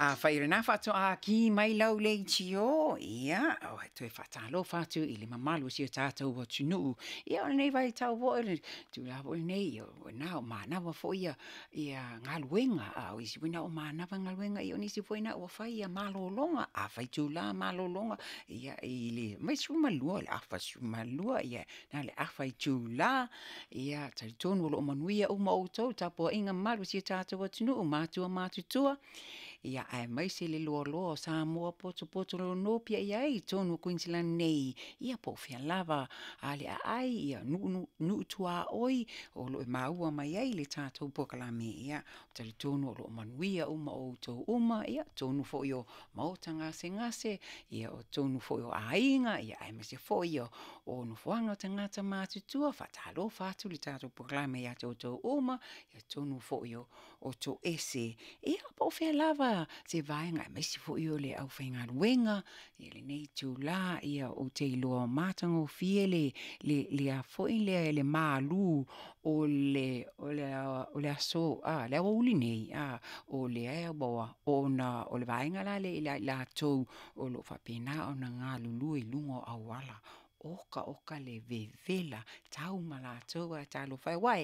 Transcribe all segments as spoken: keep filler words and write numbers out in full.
Afai o lena faatoa ki mai lau leitio, ia, o e toe faatalofa atu i le mamalu o si o tatou atunuu. Ia o lenei vaitau foi, le tulaga foi lenei, o lena o manava foi ia, ia galuega, a o isi foi na o manava galuega, ia o nisi foi na ua fai ia malologa, a itula malologa, ia i le sefulu ma lua, le afa sefulu ma lua, ia na le afa itula, ia talitonu o lo o manuia uma outou, tapuaiga mamalu a si o tatou atunuu, matua matutua, ia aemaise le loaloa o Samoa potopoto o lo o nopiai ai i totonu o Kuiniselani nei, ia po o fea lava ale aai, ia nuu nuu tuaoi o lo o maua mai ai le tatou polokalame. Ia talitonu o lo o manuia uma outou uma, ia totonu foi o maota gasegase, ia o totonu foi o aiga, ia aemaise foi o, o nofoaga o tagata matutua. Faatalofa atu le tatou polokalame ia te outou uma, ia totonu foi o, o toese, ia po o fea lava se vaega, aemaise foi o le aufaigaluega i lenei itula, ia ou te iloa matagofie le, le, le a foi lea le malu o le, o le, o le aso, a, le aoauli nei, a, o lea ua, ona o le vaega la lea ia i latou o lo o faapena ona galulue i luga o auala, oka oka le vevela, tau ma latou ae talofa e, aua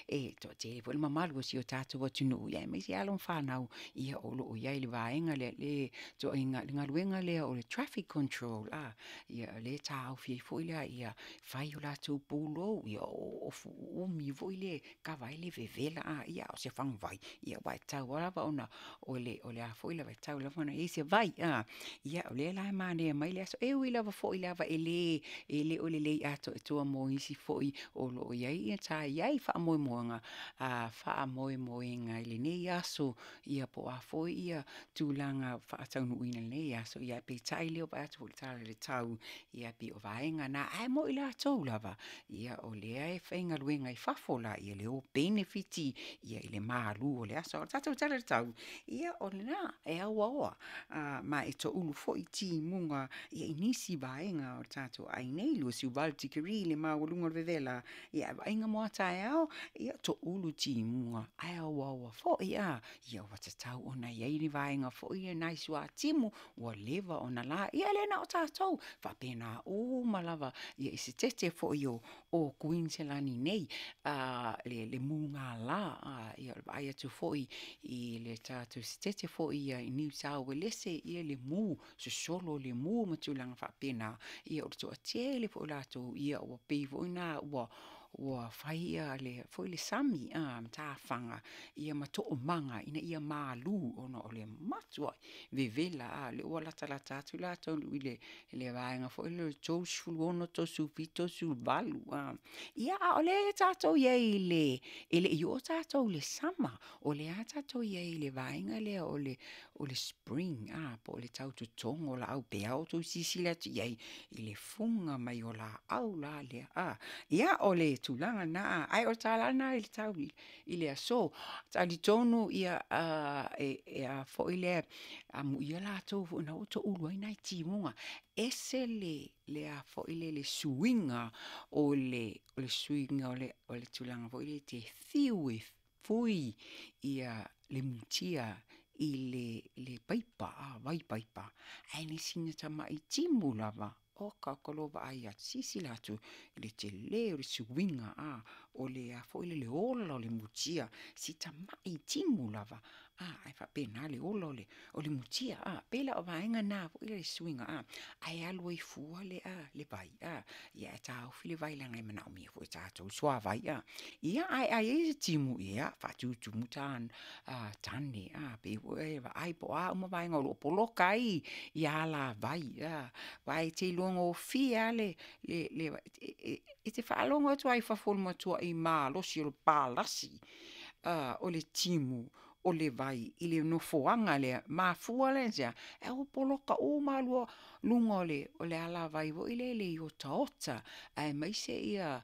e toatele foi le mamalu o si o tatou atunuu, ia aemaise alo ma fanau, ia o lo o i ai i le vaega lea, le ituaiga, le galuega lea o le traffic control, a, ia o lea e taofi ai foi la ia fai o latou pulou, ia o ofu uumi foi lea e kava ai le vevela, a, ia a o se faguvai, ia aua e tatau lava ona o le, o le a foi lava, e tatau lava ona i ai se vai, a. Ia o lea la e manea mai le aso, e ui lava foi lava e le, e le o lelei atoatoa mo isi foi o lo o i ai ia sa i ai faamoemoega, a faamoemoega i lenei aso, ia po o a foi ia tulaga faataunuuina i lenei aso, ia peitai o lea ua vaai atu foi i le tala i le tau, ia pei o vaega na, ae mo i latou lava, ia o lea e faigaluega i fafo la, ia le o penefiti ia i le malu o le aso. A o le tatou tala i le tau, ia o lena, e auaoa, a, ma e toulu foi timuga ia i nisi vaega o le tatou aai nei, luasefulu valu tikeri le maualuga o le vevela, ia ae vaaiga mo a taeao, ia toulu timuga ae auaoa foi, a, ia ua tatau ona i ai ni vaega foi ia nai suatimu ua leva ona la, ia e le na o tatou, faapena uma lava ia i se tete foi o, o Kuiniselani nei, a, le, le mugala, a, ia o le vaai atu foi i le tatou setete foi ia i Niu Sao Uelese, ia le mu, sosolo o le mu ma tulaga faapena, ia o le toatele foi o latou, ia ua pei foi na ua, ua fai ia le foi le sami a matafaga ia ma toomaga ina ia malu ona o le matuai vevela, a le ua latalata atu latou i le le vaega foi lea o le tolusefulu ono, tolusefulu fitu, tolusefulu valu, a. Ia a o lea tatou i ai i le, e le i oo tatou i le sama, o lea lava tatou i ai i le vaega lea o le, o le spring, a, po o le tautotogo o laau, pei lava outou silasila atu i ai i le fuga mai o laau la lea, a. Ia o le tulaga lena, ae o le tala lena i le tau i le aso. Talitonu ia a, e, e a foi lea, amuia latou foi na ua toulu ai nai timuga, ese le, le a foi le, le suiga o le, o le suiga o le, o le tulaga foi lea e te fiu e fui ia le mutia i le, le paipa, a, vai paipa, ae na sina tamai timu lava, oka oka lo vaai atu, silasila atu i le tele o le suiga, a, o le a foi le, le ola o le mutia, si tamai timu lava, a, ae faapena le ola o le, o le mutia, a, pei la o vaega na foi le suiga, a, ae alu ai fua le, a, le vai, a, ia e taofi le vai leaga e manaomia foi e tatou le suavai, a. Ia ae a i ai se timu, ia faatutumu ta, a, tane, a, pei foi e vaai po o a uma vaega o lo o poloka ai ia alavai, a, aua e te iloa gofie lava le, le, le, e, e te faalogo atu lava i fafo i le matuai malosi o le palasi, a, o le timu o le vai i le nofoaga lea, mafua lea i se a? E ua poloka uma lava luga o le, o le alavai foi lea i otaota, aemaise ia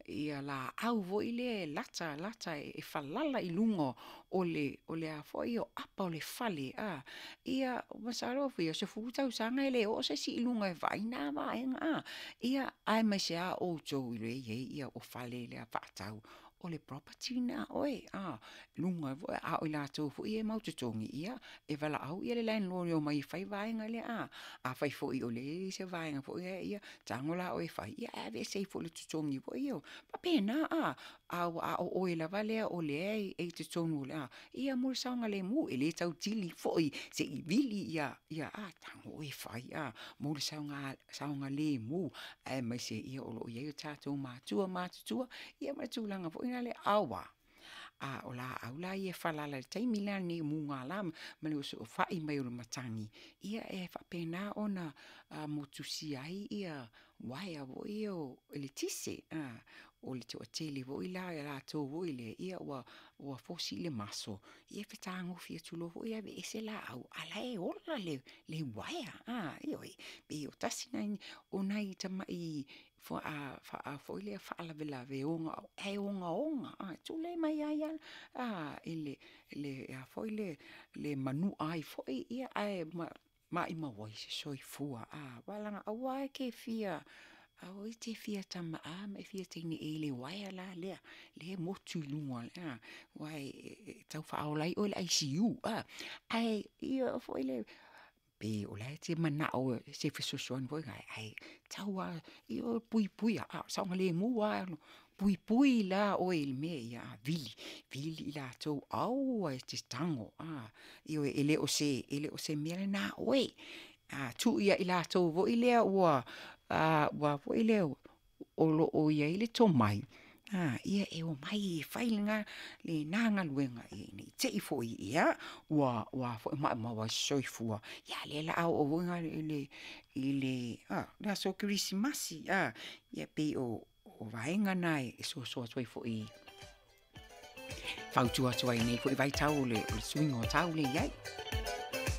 ia laau foi lea e lata lata e falala i luga o le, o le a foi o apa o le fale, a. Ia masalo foi o sefulu tausaga e le oo se isi i luga e vaai na vaega, a. Ia aemaise lava outou i le i ai ia o fale lea faatau o le property lena a oe, a, luga foi, a o i latou foi ia e mau totogi, ia, e valaau le landlord e omai e fai vaega lea, a. Afai foi o lea e i ai se vaega foi lea, ia tago la oe e fai, ia ae aveese ai foi i le totogi foi ia. Faapena, a, a a o oe lava lea o lea e i totonu o le a, ia mo le saogalemu, e le tautili foi se i vili ia, ia a, tago oe e fai, a, mo le saoga saogalemu, aemaise ia o lo o i ai o tatou matua matutua, ia ma le tulaga foi lea aua. A o laau la ia e falala i le taimi la lenei o mugala ma le osofai mai o le matagi, ia e faapena ona motusia ai ia uaea foi ia o eletise, a, o le toatele foi la o latou foi lea, ia ua ua fosi le maso, ia e fetagofi atu loa foi aveese laau, a o la e ola le le uaea, a, ioe. Pei o tasi nai o nai tamai foi lea faalavelave ae ogaoga, a, tulai mai ai lava a, i le le a foi le le manua ai foi, ia ae maumau ai se soifua, a, aua leaga aua e te fia, aua e te fia tama a ma e fia teine ea i le uaea la lea, lea e motu i luga, a, aua e tau faaola ai oe i le I C U, a, ae ia foi le pe o la e te manao e se fesoasoani foi ae tau lava ia puipuia, a saogalemu lava, puipui la oe i le mea ia vili, vili i latou aua e te tago, a, ioe, e le o se e le o se mea lena a oe. A tuu ia i latou foi lea ua a ua foi lea o lo o i ai le tomai, a, ia e omai e fai lena lena galuega ina ne i te i foi ia ua ua foi maumau ai se soifua. Ia a o lea o le a oo foi i le i le a le aso Kerisimasi, a, ia pei o o vaega na e soasoa atu ai foi, fautua atu ai nei foi vaitau o le, o le suiga o tau le i ai.